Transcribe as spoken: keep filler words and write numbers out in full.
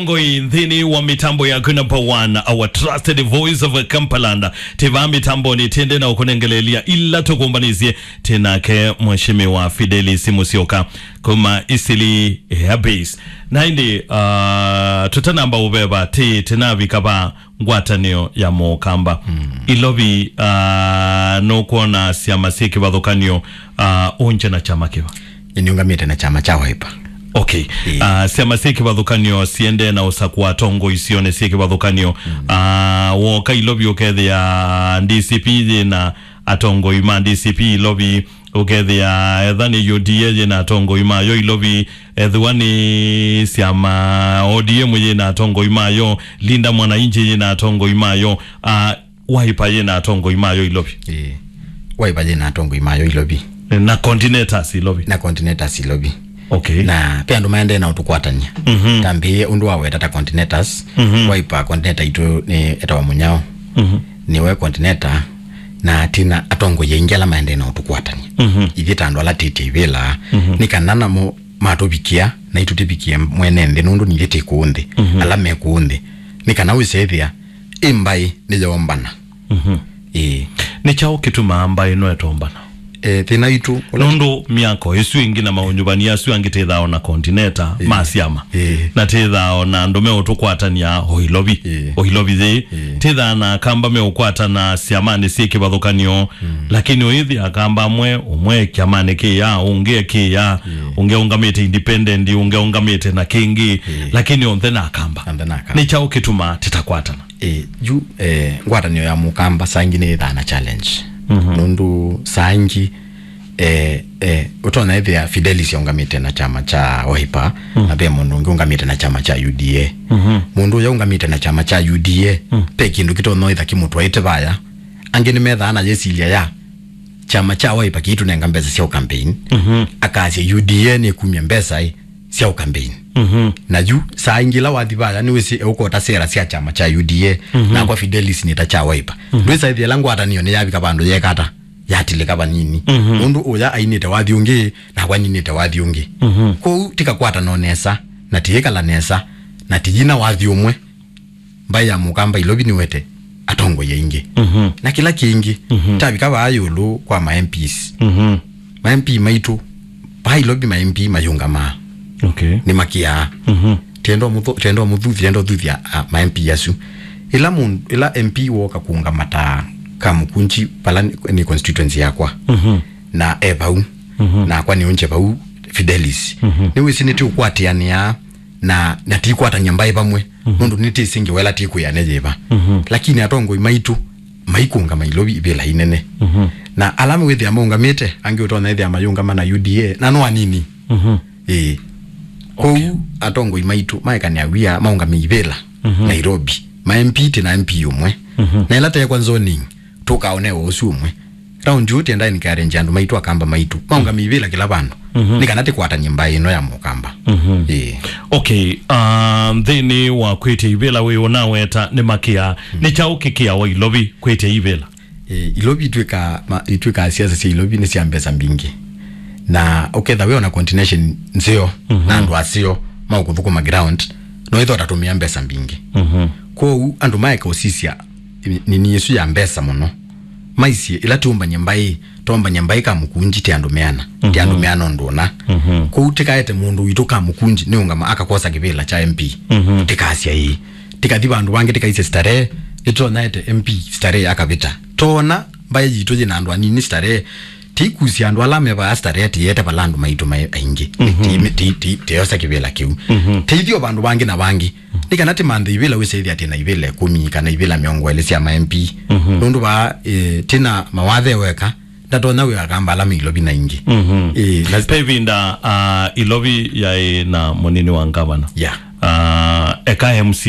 Ngoi nthĩnĩ wa mĩtambo yaku number one, our trusted voice of Kampalanda. Tĩ vaa mĩtambonĩ tĩendee na ũkũnengeleelya ila tũkũmbanĩsye tĩ nake Mheshimiwa Fidelis Musyoka kuma Eastleigh Air Base. Na ĩndĩ, uh, tũtanamba ũveva, tĩ tĩnavika va ngwatanĩo ya Mũkamba. Ilovi, uh, nũkwona syama syĩ kĩvathũkanyo, uh, ũngye na kyama kĩva? Nĩũngamĩte na kyama kya Wiper. Okay. Ĩĩ. Uh, syama syĩ kĩvathũkanyo siendee na ũsakũa atongoi syonĩ syĩ kĩvathũkanyo. Uh, woka Ilovi ũkethĩa D C P yĩna atongoi ma D C P Ilovi, ũkethĩa etha nĩ U D A yĩna atongoi mayo Ilovi, ethĩwa nĩ syama O D M yĩna atongoi mayo, Linda Mwananchi yĩna atongoi mayo, uh, Wiper yĩna atongoi mayo Ilovi. Ĩĩ. Wiper yĩna atongoi mayo Ilovi. Na coordinators Ilovi. Na coordinators Ilovi. Okay. Na pe andũ maendee na ũtũkwatany'a. Mhm. Tambĩĩe ũndũ wa weta ta coordinators. Mhm. Wiper coordinator itũ nĩ etawa Mũnyao. Mhm. Nĩwe coordinator na tina atongoi aingĩ ala maendee na ũtũkwatany'a. Mhm. Ithyĩ ta andũ ala tĩtye ivĩla, mhm, nĩ kana namo matũvikĩa na itũtĩvikĩe mwene nthĩ, nũndũ nithyĩ tĩ kũũ nthĩ. Mhm. Ala me kũũ nthĩ. Nĩ kana wĩsethĩa ĩ mbaĩ nĩyoombana. Mhm. Ĩĩ. Nĩ kyaũ kĩtumaa mbaĩ ĩno ĩtombana? Eh, thĩna witũ ũla nũndũ myako ĩsu ĩngĩ na maũnyuvani asu angĩ tĩthaa o na coordinator, ĩĩ, ma syama. Ĩĩ. Na tĩthaa o na andũ meũtũkwatany'a o Ilovi. Ĩĩ. O Ilovi yĩĩ. Ĩĩ. Tĩthaa na Akamba meũkwatana syamanĩ syĩ kĩvathũkanyo. Mm. Lakini ũyĩthĩa Akamba amwe, ũmwe kyamanĩ kĩya, ũngĩ ekĩya, ĩĩ, ũngĩ aũngamĩte independent, ũngĩ aũngamĩte na kĩngĩ. Ĩĩ. Lakini onthe na Akamba. Onthe na Akamba. Nĩ kyaũ kĩtumaa tĩtakwatana? Eh, yu, eh, ngwatanĩo ya Mũkamba saa ingĩ nĩ ĩthaa na challenge. Mhm. Nũndũ saa ingĩ, eh, eh, ũtonya ĩthĩa Fidelis aũngamĩte na kyama kya Wiper, mhm, na ve mũndũ ũngĩ ũngamĩte na kyama kya U D A. Mhm. Mũndũ ũya ũngamĩte na kyama kya U D A, mhm, ve kĩndũ kĩtonya ĩtha kĩmũtwaĩte vaya. Angĩ nĩmethaa na yĩsilya ya kyama kya Wiper kĩitũnenga mbesa sya ũkampeini. Mhm. Akasya U D A nĩkumya mbesa ĩ sya ũkampeini. Mhm. Na yu, saa ingĩ ĩla wathi vaya, nĩwĩsĩ eũkota sera sya kyama kya U D A, mhm, nakwa Fidelis nĩ ta kya Wiper. Mhm. Ndwĩsa ĩthĩa ĩla ngwatanĩo nĩyavika vandũ yekata, yatilĩka vanini. Mhm. Nũndũ ũya ainĩte wathi ũngĩ, nakwa ninĩte wathi ũngĩ. Mhm. Kwoou, tĩkakwatana o nesa, na tĩĩkala nesa, na tĩyina wathi ũmwe. Mbaĩ ya Mũkamba Ilovi nĩwete atongoi aingĩ. Mhm. Na kĩla kĩngĩ, mhm, tavika vaa ĩũlũ kwa ma M Ps. Mhm. Ma M P maitũ, vaa Ilovi ma M P mayũngamaa. Okay. Nĩmakĩaa. Mhm. Tendo mũthu-, tendo mũthuthi, tendo thuthia, a, ma M P asu. Ĩla mũndũ, ĩla M P woka kũũngama ta Kamũkũnji, vala nĩ, nĩ constituency yakwa. Mhm. Na e vau. Mhm. Nakwa nĩũngye vau Fidelis. Mhm. Nĩwĩsĩ nĩtĩũkwatĩanĩa na, na tikwatany'a mbaĩ vamwe, mhm, nũndũ nĩtĩsĩ ngewa ĩla tĩkwĩana yĩva. Mhm. Lakini atongoi maitũ maikũngama Ilovi ivĩla inene. Mhm. Na ala wĩthĩa maũngamĩte, angĩ ũtonya ĩthĩa mayũngama na U D A, na no anini. Mhm. Ĩĩ. Okay. Kwoou atongoi maitũ maekanĩa wia maũngamĩe ivĩla, mhm, Nairobi. Ma M P tĩ na M P ũmwe. Mhm. Na ĩla teekwa zoning, tũkaonewa ũsu ũmwe. Round yu tĩenda encourage andũ maitũ, Akamba maitũ maũngamĩe ivĩla kĩla vandũ. Mhm. Nĩ kana tĩkwatany'e mbaĩ ĩno ya Mũkamba. Mhm. Ĩĩ. Okay, ah, nthĩnĩ wa kwĩtya ivĩla wĩ ũnaweta nĩ makĩa, mm, nĩ kyaũ kĩkĩawa Ilovi kwĩtya ivĩla? Ĩĩ, Ilovi itwĩka, ma-, itwĩkaa siasa sya Ilovi nĩ sya mbesa mbingĩ. Na ũketha wĩ ona coordination nzeo, mhm, na andũ aseo maũkũthũkũma ground, no ĩtho tatũmĩa mbesa mbingĩ. Mhm. Kwoou andũ maeka ũsisya nini ĩsu ya mbesa mũno. Maisye, ĩla tũmbany'a mbaĩ, tũmbany'a mbaĩ Kamũkũnji tĩ andũ meana, tĩ andũ, mhm, meana ũndũ ũna. Mhm. Kwoou tĩkaete mũndũ witũ Kamũkũnji nĩũngama akakosa kĩvĩla kya M P. Mhm. Tĩkasya ĩĩ. Tĩkathi vandũ vangĩ tĩkaisye Starehe, nĩtũtonya ete M P Starehe akavĩta. Tona mbaĩ yitũ yĩ na andũ anini Starehe, tĩikusya andũ ala me vaa Starehe tĩyete vala andũ maitũ maĩ aingĩ. Mhm. Tĩ-, tĩ-, tĩ-, tĩyosa kĩvĩla kĩu. Mhm. Tĩithi o vandũ vangĩ na vangĩ. Nĩ kana tĩmanthe ivĩla wĩsĩthĩa tĩ na ivĩla ĩkũmi kana ivĩla mĩongo ĩlĩ sya ma M P. Mhm. Nũndũ vaa, eh, tĩ na mawathe weka, ndatonya wĩa Akamba ala me Ilovi na ingĩ. Mhm. Eh, na pe ĩvinda, ah, Ilovi yaĩ na mũnini wa ngavana. Yeah. Ah, eka M C